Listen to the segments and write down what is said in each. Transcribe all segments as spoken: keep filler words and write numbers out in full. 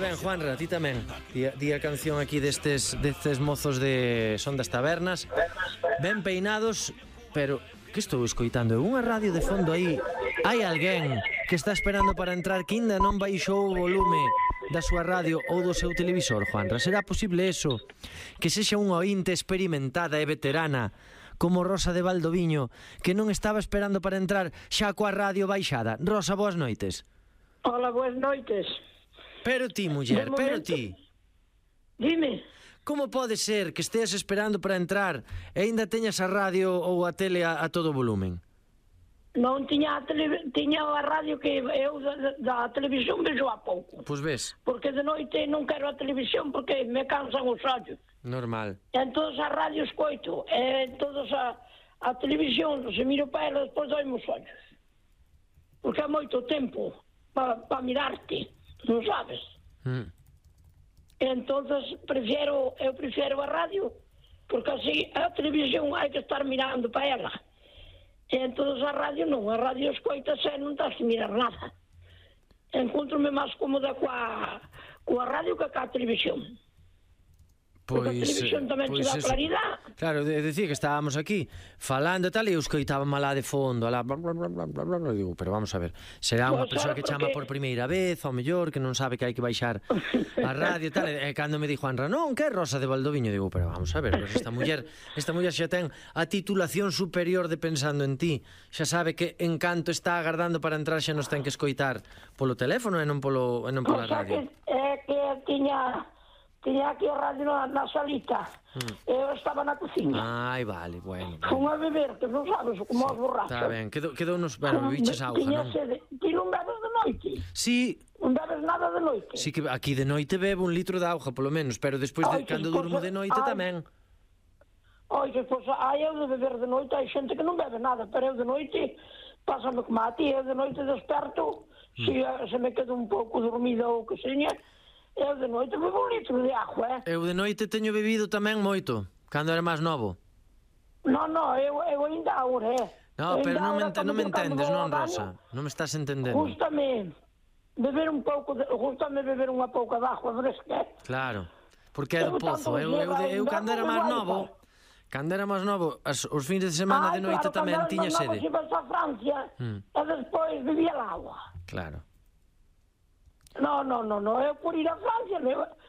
ben, Juanra, ti tamén. Di, di a canción aquí destes, destes mozos de Son das Tabernas. Ben peinados, pero que estou escoitando? É unha radio de fondo aí. Hai alguén que está esperando para entrar que ainda non baixou o volume da súa radio ou do seu televisor, Juanra? Será posible eso? Que sexa unha ointe experimentada e veterana como Rosa de Valdoviño, que non estaba esperando para entrar xa coa radio baixada. Rosa, boas noites. Hola, boas noites. Pero ti, muller, pero ti. Dime. Como pode ser que esteas esperando para entrar e aínda teñas a radio ou a tele a, a todo volumen? Non tiña a, tele, tiña a radio que eu da, da televisión vexo a pouco. Pois ves. Porque de noite non quero a televisión porque me cansan os ollos. Normal. En todas as radios coito, en todas a, a televisión, se miro para ela, despois doime os ollos. Porque é moito tempo para pa mirarte, non sabes? Mm. Entonces prefiero, eu prefiero a radio, porque así a televisión hai que estar mirando para ela. E entonces a radio non, a radio escoitas e non tens que mirar nada. Encontro-me máis cómoda coa, coa radio que coa televisión. Pois, porque a televisión tamén te dá claridade. Claro, de, decía que estábamos aquí falando e tal, e eu escoitaba malá de fondo, alá, bla, bla, bla, bla, bla, bla, digo, pero vamos a ver, será unha persoa que chama por primeira vez, ao mellor, que non sabe que hai que baixar a radio e tal, e cando me di Juanra, non, que é Rosa de Valdoviño, digo, pero vamos a ver, pues esta muller, esta muller xa ten a titulación superior de Pensando en Ti, xa sabe que Encanto está agardando para entrar, xa nos ten que escoitar polo teléfono e non polo e non pola radio. É que tiña Tiña aquí a radio na, na salita. Mm. Eu estaba na cociña. Ai, vale, bueno. Fun a beber, que non sabes, como os borrachos. Está ben, quedou, quedou nos... Bueno, biches auga, non? Sede. Ti non bebes de noite? Sí. Non bebes nada de noite? Sí, que aquí de noite bebo un litro de auga, polo menos, pero despois, de, cando durmo de noite, tamén. Oi, que pois, ai, eu de beber de noite, hai xente que non bebe nada, pero eu de noite, pásame como a ti, eu de noite desperto, mm. se, se me quedo un pouco dormida ou que seña, eu de noite bebo un litro de agua, eh? Eu de noite teño bebido tamén moito, cando era máis novo. Non, non, eu, eu ainda agora, eh? No, pero non me, ente, non me entendes, non, Rosa? Non me estás entendendo. Gústame beber un pouco, de, gústame beber unha pouca de agua fresca. Claro, porque é do pozo. Eu, eu, eu, eu cando era máis novo, cando era máis novo, as, os fins de semana de noite tamén tiña sede. Ah, claro, cando era máis novo, se vas a Francia, mm. e despois bebía el agua. Claro. No, no, no, no, eu por ir a Francia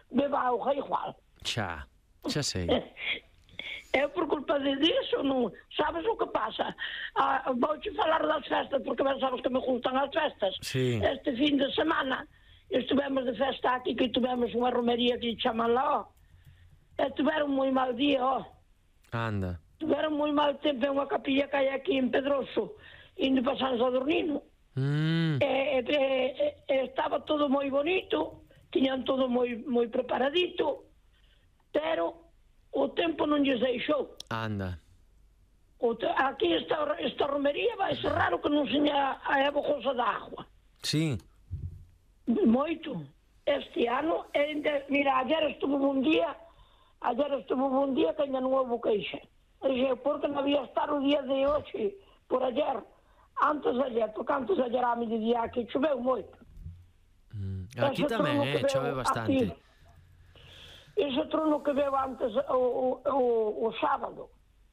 beba auga igual. Xa, xa sei. Eu por culpa de disso, non, sabes o que pasa? Ah, vouche falar das festas, porque ben sabes que me gustan as festas. Sí. Este fin de semana estivemos de festa aquí, que tivemos unha romería que chaman lá, e tiveron moi mal día, ó. Anda. Tiveron moi mal tempo en unha capilla que hai aquí en Pedroso, indo para San Sadurnino. Mm. E, e, e, estaba todo moi bonito, tiñan todo moi moi preparadito, pero o tempo non lles deixou. Anda. O te, aquí esta, esta romería vai ser raro que non seña a bojosa da agua. Sí. Moito. Este ano, ende, mira, ayer estuvo un día, ayer estuvo un día que ainda non houve queixa. Dixe, porque non había estar o día de hoxe, por ayer, antes de ayer, porque antes de ayer a mediodía aquí choveu moito. Mm. Aquí tamén, eh, chove bastante. Aquí, ese trono que veo antes o, o, o, o sábado,